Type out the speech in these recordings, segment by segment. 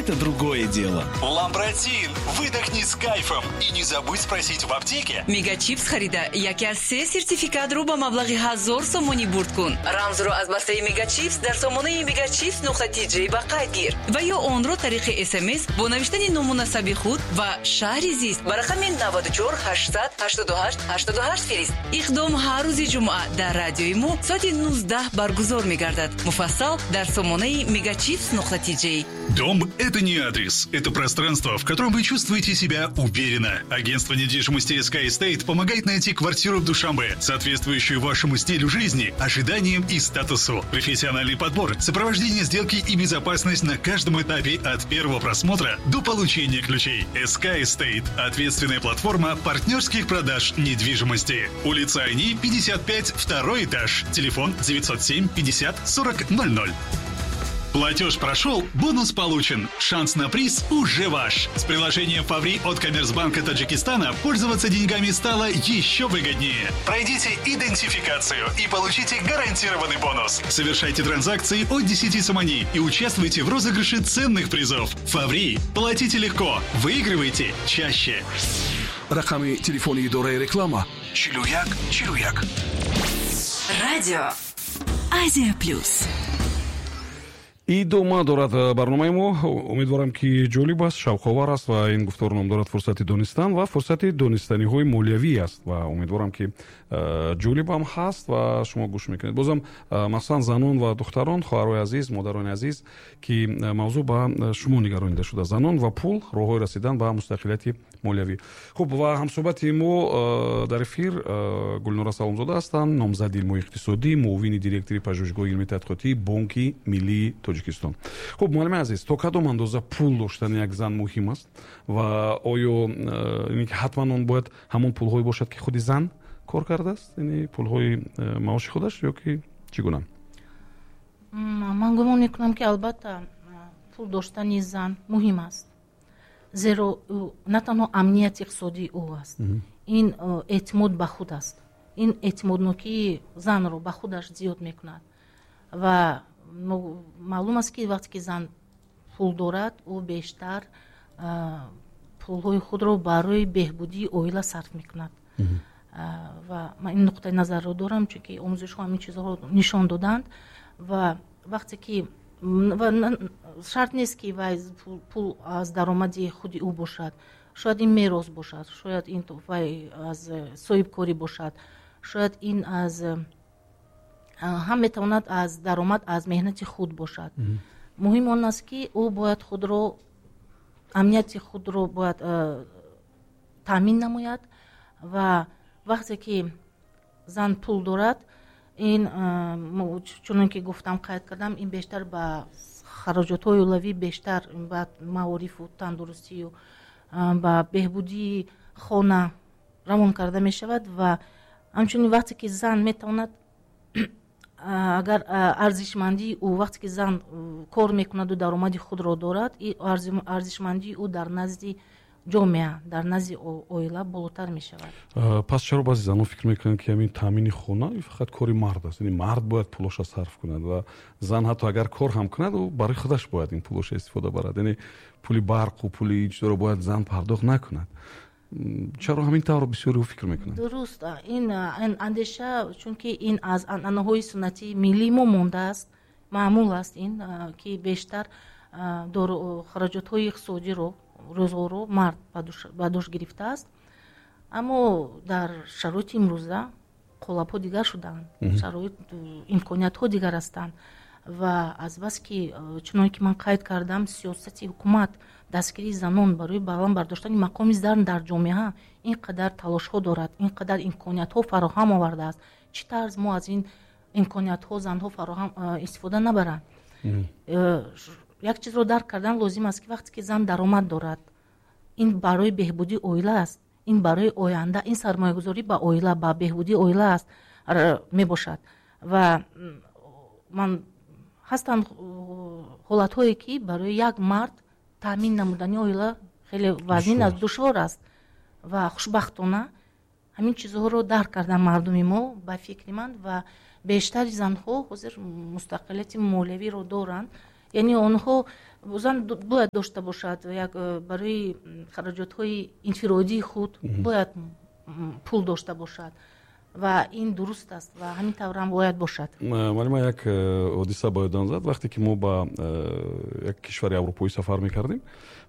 Это другое дело. Ламбратин, выдохни с кайфом и не забудь спросить в аптеке. Мегачипс харида яке аз се сертификатро ба маблағи 1000 сомонӣ бурд кун. Рамзро аз бастаи Мегачипс дар сомонаи megachipс.tj ба қайд гир ва ё онро тариқи СМС бо навиштани ному насаби худ ва шаҳри зист ба рақами 94 888 88 фирист. Иқдом ҳар рӯзи ҷумъа дар радиои мо соати 19 баргузор мегардад. Муфассал дар сомонаи megachipс.tj. Дом – это не адрес, это пространство, в котором вы чувствуете себя уверенно. Агентство недвижимости SK Estate помогает найти квартиру в Душанбе, соответствующую вашему стилю жизни, ожиданиям и статусу. Профессиональный подбор, сопровождение сделки и безопасность на каждом этапе от первого просмотра до получения ключей. SK Estate – ответственная платформа партнерских продаж недвижимости. Улица Айни, 55, второй этаж. Телефон 907 50 40 00. Платеж прошел, бонус получен. Шанс на приз уже ваш. С приложением «Фаври» от Коммерцбанка Таджикистана пользоваться деньгами стало еще выгоднее. Пройдите идентификацию и получите гарантированный бонус. Совершайте транзакции от 10 сомони и участвуйте в розыгрыше ценных призов. «Фаври». Платите легко. Выигрывайте чаще. Рақами телефони идораи реклама: 41 41. Радио Азия Плюс. Идома дорад барномаи мо. Умедворам, ки ҷолиб аст, шавқовар аст ва ин гуфтор ном дорад «Фурсати донистан» ва фурсати донистаниҳои молиявӣ аст ва умедворам, ки ҷолибам ҳаст ва шумо гӯш мекунед. Бозам махсусан занон ва духтарон, хоҳарои азиз, модарони азиз, ки мавзӯъ ба шумо нигаронида шуда: занон ва пул, роҳҳои расидан ба мустақилияти молиявӣ. Хуб, ва ҳамсӯҳбати мо дар эфир Гулнора Саломзода ҳастанд, номзади илмҳои иқтисодӣ, муовини директори Пажӯҳишгоҳи илми тадқиқотии Бонки Миллии Тоҷикистон. Хуб, муаллими азиз, то кадом андоза пул доштани як зан муҳим аст ва оё ҳатман он бояд ҳамон пулҳое бошад, ки худи зан кор кардааст, яъне пулҳои маоши худаш, ё ки чӣ гуна? Ман гумон мекунам, ки албатта пул доштани зан муҳим аст, зеро на танҳо амнияти иқтисодии ӯ аст, ин эътимод ба худ аст, ин эътимоднокии занро ба худаш зиёд мекунад. Ва маълум аст, ки вақте ки зан пул дорад, ӯ бештар пулҳои худро барои беҳбудии оила сарф мекунад. Ва ман ин нуқтаи назарро дорам, чунки омӯзишҳо ҳамин чизҳоро нишон доданд. Ва вақте ки шарт нест, ки вай пул аз даромади худи ӯ бошад, шояд ин мерос бошад, шояд ин вай аз соҳибкорӣ бошад, шояд ин аз ҳам метавонад аз даромад аз меҳнати худ бошад. Муҳим он аст, ки ӯ бояд худро, амнияти худро бояд таъмин намояд. Ва вақте ки зан пул дорад, ин, чунон ки гуфтам, қайд кардам, ин бештар ба хароҷотҳои оилавӣ, бештар ба маорифу тандурустию ба беҳбудии хона равон карда мешавад. Ва ҳамчунин вақте ки зан метавонад, агар арзишмандии ӯ, вақте ки зан кор мекунаду даромади худро дорад, арзишмандии ӯ дар назди ҷомеа, дар назди оила болотар мешавад. Пас чаро баъзе занон фикр мекунанд, ки ҳамин таъмини хона фақат кори мард аст, яъне мард бояд пулоша сарф кунад ва зан ҳатто агар кор ҳам кунад, ӯ барои худаш бояд ин пулоша истифода барад, яъне пули барқу пули ин чизоро бояд зан пардохт накунад? Чаро ҳамин тавр бисёриҳо фикр мекунанд? Дуруст, ин андеша, чунки ин аз анъанаҳои суннатии миллии мо мондааст, маъмул аст ин, ки бештар хароҷотҳои иқтисодиро, рӯзғорро мард ба дӯш гирифтааст. Аммо дар шароити имрӯза қолабҳо дигар шуданд, шароит, имкониятҳо дигар ҳастанд. Ва азбаски, чуноне ки ман қайд кардам, сиёсати ҳукумат дастгирии занон барои баланд бардоштани мақоми зан дар ҷомеа ин қадар талошҳо дорад, ин қадар имкониятҳо фароҳам овардааст, чӣ тарз мо аз ин имкониятҳо занҳо фароҳам истифода набаранд? Як чизро дарк кардан лозим аст, ки вақте ки зан даромад дорад, ин барои беҳбудии оила аст, ин барои оянда, ин сармоягузорӣ ба оила, ба беҳбудии оила аст, мебошад. Ва ман ҳастанд ҳолатҳое, ки барои як мард таъмин намудани оила хеле вазнин аст, душвор аст. Ва хушбахтона ҳамин чизҳоро дарк кардан мардуми мо, ба фикри ман, ва бештари занҳо ҳозир мустақилияти молиявиро доранд. Яъне онҳо зан бояд дошта бошад як барои хароҷотҳои инфиродии худ бояд пул дошта бошад ва ин дуруст аст ва ҳамин тавр ҳам бояд бошад. Муаллима, як ҳодиса ба ёдам зад, вақте ки мо ба як кишвари аврупоӣ сафар мекардем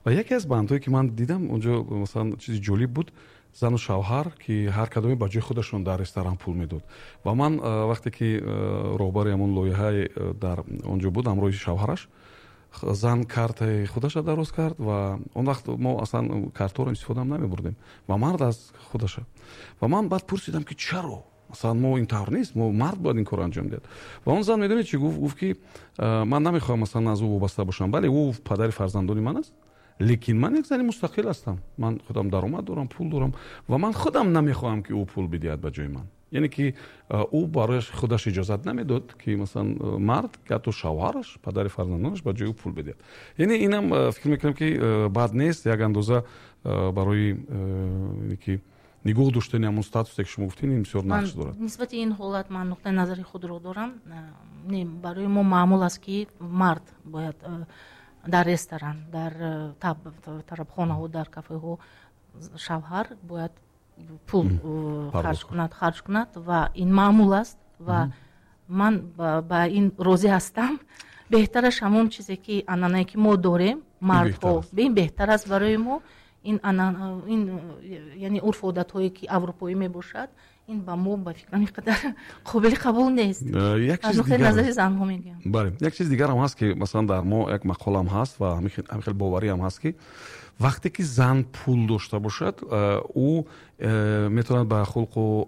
ва яке аз бандҳое ки ман дидам онҷо, масалан, чизи ҷолиб буд: зану шавҳар, ки ҳар кадоме ба ҷои худашон дар ресторан пул медод. Ва ман вақте ки роҳбари ҳамон лоиҳаи дар он ҷо буд, ҳамроҳи шавҳараш, зан картаи худаша дароз кард ва он вақт мо аслан картҳоро истифодаам намебурдем, ва мард аз худаша. Ва ман баъд пурсидам, ки чаро, масалан, мо ин тавр нест, мо мард бояд ин корро анҷом диҳад. Ва он зан медонед чӣ гуфт? Гуфт, ки ман намехоҳам, масалан, аз ӯ вобаста бошам. Бале, ӯ падари фарзандони ман аст, лекин ман як зани мустақил ҳастам, ман худам даромад дорам, пул дорам ва ман худам намехоҳам, ки ӯ пул бидиҳад ба ҷои ман. Яъне ки ӯ барояш худаш иҷозат намедод, ки масалан мард, ҳатто шавҳараш, падари фарзандонаш, ба ҷои ӯ пул бидиҳад. Яъне инам фикр мекунам, ки бад нест, як андоза барои ки нигоҳ доштани ҳамон статусе, ки шумо гуфтед, ин бисёр нақш дорад. Нисбати ин ҳолат ман нуқтаи назари худро дорам. Не, барои мо маъмул аст, ки мард бояд дар ресторан, дар тарабхонаҳо, дар кафеҳо шавҳар бояд пул харҷ кунад ва ин маъмул аст ва ман ба ин розӣ ҳастам. Беҳтараш ҳамон чизе ки анъанае ки мо дорем, мардҳо, ин беҳтар аст барои мо. Ин яъне урфу одатҳое ки аврупоӣ мебошад, ин ба мо, ба фикрам, ин қадар қобили қабул нест. Аз нуқтаи назари занҳо мегӯям. Бале, як чиз дигарам ҳаст, ки масалан дар мо як мақолам ҳаст ва ҳамин хел бовариам ҳаст, ки вақте ки зан пул дошта бошад, ӯ метавонад ба хулқу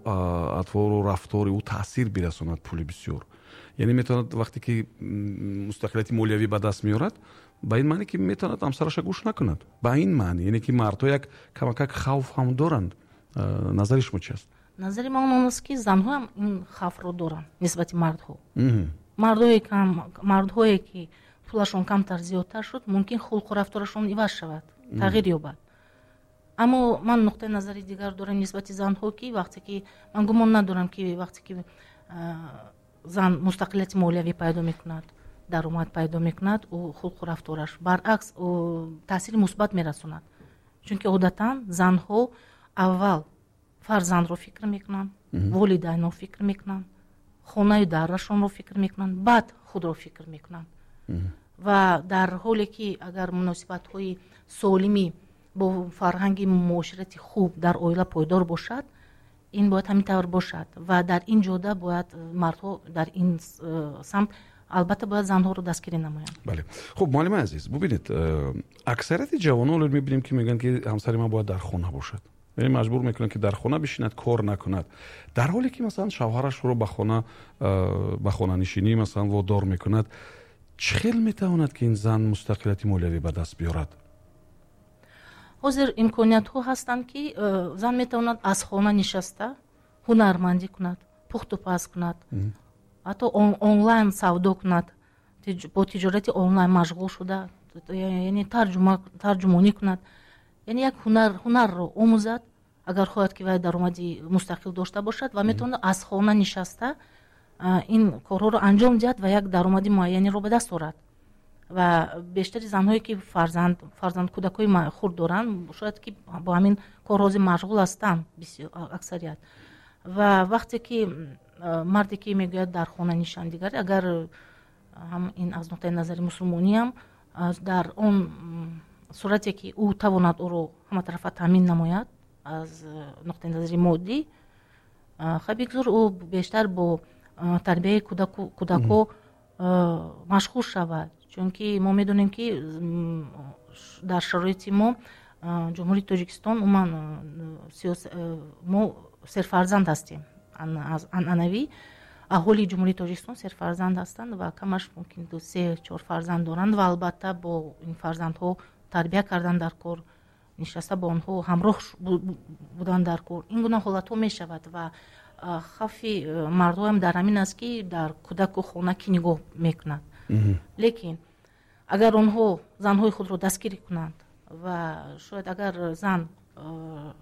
атвору рафтори ӯ таъсир бирасонад пули бисёр. Яъне метавонад, вақте ки мустақилияти молиявӣ ба даст меорад, ба ин маъне ки метавонад ҳамсараша гӯш накунад, ба ин маъне, яъне ки мардҳо як камакак хавф ҳам доранд. Назари шумо чи аст? Назари ман он аст, ки занҳо ҳам ин хавфро доранд нисбати мардҳо. Мардҳое ки пулашон камтар зиёдтар шуд, мумкин хулқу рафторашон иваз шавад, тағйир ёбад. Аммо ман нуқтаи назари дигар дорам нисбати занҳо, ки вақте ки ман гумон надорам, ки вақте ки зан мустақилияти молиявӣ пайдо мекунад, даромад пайдо мекунад, ӯ хулқу рафтораш баръакс таъсири мусбат мерасонад, чунки одатан занҳо аввал фарзандро фикр мекунанд, волидайнро фикр мекунанд, хонаю дарашонро фикр мекунанд, баъд худро фикр мекунанд. Ва дар ҳоле ки агар муносибатҳои солимӣ бо фарҳанги муоширати хуб дар оила пойдор бошад, ин бояд ҳамин тавр бошад ва дар ин ҷода бояд мардҳо дар ин самт албатта бояд занҳоро дастгирӣ намоянд. Бале, хуб, муаллимаи азиз, бубинед, аксарияти ҷавонон мебинем, ки мегӯянд, ки ҳамсари ман бояд дар хона бошад, яъне маҷбур мекунанд, ки дар хона бишинад, кор накунад, дар ҳоле ки масалан шавҳарашро ба хонанишинӣ масалан водор мекунад. Чӣ хел метавонад, ки ин зан мустақилияти молиявӣ ба даст биёрад? Ҳозир имкониятҳо ҳастанд, ки зан метавонад аз хона нишаста ҳунармандӣ кунад, пухтупаз кунад, ҳатто онлайн савдо кунад, бо тиҷорати онлайн машғул шуда, яъне тарҷумонӣ кунад, яъне як ҳунарро омӯзад, агар хоҳад, ки вай даромади мустақил дошта бошад, ва метавонад аз хона нишаста ин корҳоро анҷом диҳад ва як даромади муайяниро ба даст орад. Ва бештари занҳое ки фарзанд, кӯдакҳои хурд доранд, шояд ки бо ҳамин кор ҳозир машғул ҳастанд аксарият. Ва вақте ки марде ки мегӯяд дар хона нишан, дигар агар ҳам ин аз нуқтаи назари мусулмониам, дар он сурате ки ӯ тавонад ӯро ҳаматарафа таъмин намояд аз нуқтаи назари моддӣ, хай, бигзор ӯ бештар бо тарбияи кӯдакҳо машғул шавад, чунки мо медонем, ки дар шароити мо, Ҷумҳурии Тоҷикистон, умуман мо серфарзанд ҳастем. Аз анъанавӣ аҳолии Ҷумҳурии Тоҷикистон серфарзанд ҳастанд ва камаш мумкин ду, се, чор фарзанд доранд. Ва албатта бо ин фарзандҳо тарбия кардан дар кор, нишаста бо онҳо ҳамроҳ будан дар кор, ин гуна ҳолатҳо мешавад. Ва хавфи мардҳоам дар ҳамин аст, ки дар кӯдаку хона кӣ нигоҳ мекунад. Лекин агар онҳо занҳои худро дастгирӣ кунанд ва шояд агар зан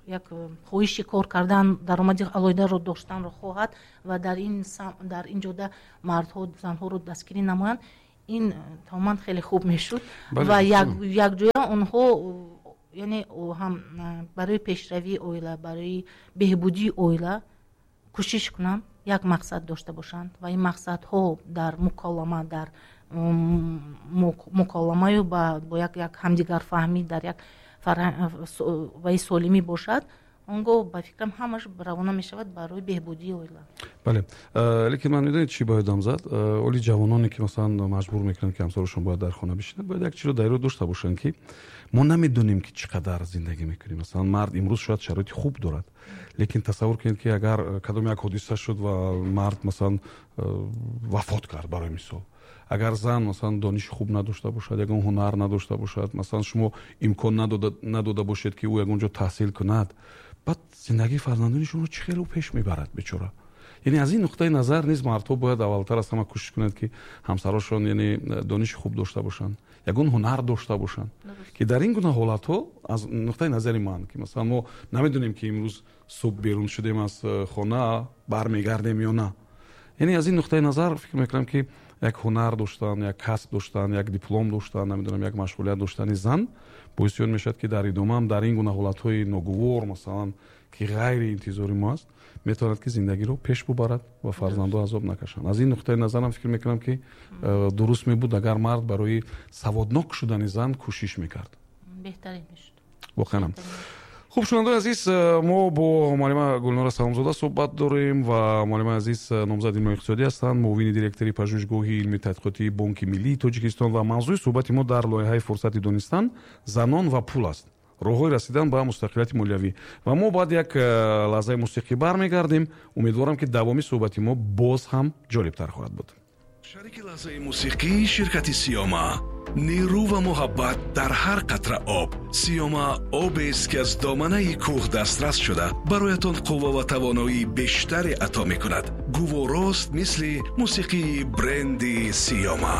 як хоҳиши кор кардан, даромади алоҳидаро доштанро хоҳад ва дар ин ҷода мардҳо занҳоро дастгирӣ намоянд, Ин тамоман хеле хуб мешуд ва якҷоя онҳо, яъне ҳам барои пешравии оила, барои беҳбудии оила кӯшиш кунанд, як мақсад дошта бошанд ва ин мақсадҳо дар муколама, дар муколамаю бо як ҳамдигарфаҳмӣ, дар як ваи солимӣ бошад, он гоҳ ба фикрам ҳамаш равона мешавад барои беҳбудии оила. Бале, лекин ман медонед чӣ ба ёдам зад? Оли ҷавононе ки масалан маҷбур мекунанд, ки ҳамсарашон бояд дар хона бишинад, бояд як чизро дар ёд дошта бошанд, ки мо намедонем, ки чӣ қадар зиндагӣ мекунем. Масалан, мард имрӯз шояд шароити хуб дорад, лекин тасаввур кунед, ки агар кадом як ҳодиса шуд ва мард масалан вафот кард, барои мисол, агар зан масалан дониши хуб надошта бошад, ягон ҳунар надошта бошад, масалан шумо имкон надода бошед, ки ӯ ягон ҷо таҳсил кунад, баъд зиндагии фарзандони шуморо чӣ хел ӯ пеш мебарад бечора? Яъне аз ин нуқтаи назар низ мардҳо бояд аввалтар аз ҳама кӯшиш кунанд, ки ҳамсарошон, яъне дониши хуб дошта бошанд, ягон ҳунар дошта бошанд, ки дар ин гуна ҳолатҳо, аз нуқтаи назари ман, ки масалан мо намедонем, ки имрӯз субҳ берун шудем аз хона, бармегардем ё на, яъне аз ин нуқтаи назар фикр мекунам, ки як ҳунар доштан, як касб доштан, як диплом доштан, намедонам, як машғулият доштани зан боиси он мешавад, ки дар идома ҳам дар ин гуна ҳолатҳои ногувор, масалан, ки ғайри интизори мо аст, метавонад, ки зиндагиро пеш бубарад ва фарзандҳо азоб накашанд. Аз ин нуқтаи назарам фикр мекунам, ки дуруст мебуд, агар мард барои саводнок шудани зан кӯшиш мекард. Беҳтарин мешуд. Воқеан. Хуб, шунавандаои азиз, мо бо муаллима Гулнора Саломзода суҳбат дорем ва муаллимаи азиз номзади илмҳои иқтисодӣ ҳастанд, муовини директори пажӯҳишгоҳи илми тадқиқотии Бонки Миллии Тоҷикистон, ва мавзӯи суҳбати мо дар лоиҳаи «Фурсати донистан» занон ва пул аст, роҳҳои расидан ба мустақилияти молиявӣ. Ва мо баъд як лаҳзаи мусиқӣ бармегардем. Умедворам, ки давоми суҳбати мо боз ҳам ҷолибтар хоҳад буд. Шарики лаҳзаи мусиқӣ ширкати Сиёма. Нерӯ ва муҳаббат дар ҳар қатра об. Сиёма обест, ки аз доманаи кӯҳ дастрас шуда, бароятон қувва ва тавоноии бештаре ато мекунад. Гуворост, мисли мусиқии бренди Сиёма.